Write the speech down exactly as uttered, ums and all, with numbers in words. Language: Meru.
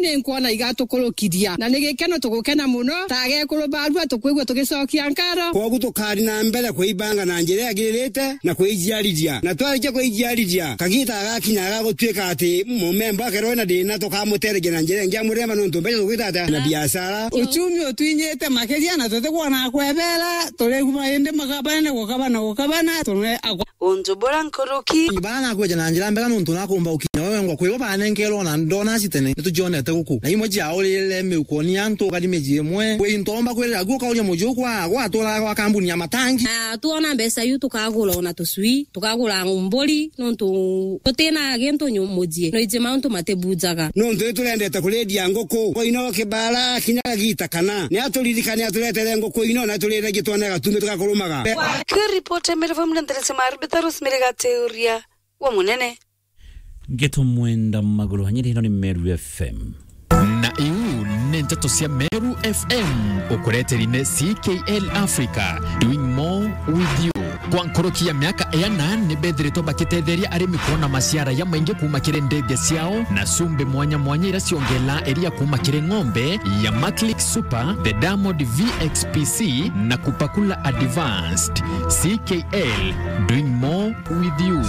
ni nkwona igatukurukiria, na ni gikeno, tugukena muno ta agekuru barua, tukwigua tugicokia nkaro. Kwogu tukari na mbere kwibanga na njira yagiririte na kwijiarithia, na twarikia kwijiarithia, kagita gagakinya ga gutuika ati mumemba akerwe na thina, tukamutereria na njira ingi ya murema, nontu mbeca tugwita atia na biashara. Uchumi utwinyite makiria, na tutikwona kwebera, turiguma indi magabane gukabana gukabana, tune akwa. Untu bura nkuruki. Bara nakweja na njira mbega nontu nakumba ukinya wewe ngwa kwibo banenkerwo na ndona citene, nitucionete guku. Na imwe ciaurire miukoni antu, ukari miji imwe. Kwi ntomba kwirira guo kauria muji ukwa, gwaturaga gwa kambuni ya matangi. Na twona mbeca iu tukagura ona tucui, tukagura mburi, nontu tutina gintu nyu-, muji. Noiji mauntu matibunjaga. Nontu ni turendete kurindia nguku. Koino kibara kinya gagita kana. Ni aturirikane aturetere nguku ino na turire gitwone gatumbi tugakurumaga. Kiripoti ya Meru F M na nderesi Marubita Rosemary Gateuria wa Munene. Ngeto mwenda maguru hanyiri ino ni Meru F M. Na iu ni nteto cia Meru F M, ukureteri ni C K L Africa, doing more with you. Kwa nkuruki ya miaka iana ni bethiritwe bakitetheria arimi kwona maciara ya maingi kuma kiri ndege ciao na cumbi mwanya mwanya ira ciongela iria kuma kiri ng'ombe ya Maclick Super, the Diamond V X P C na Kupakula Advanced. C K L, doing more with you.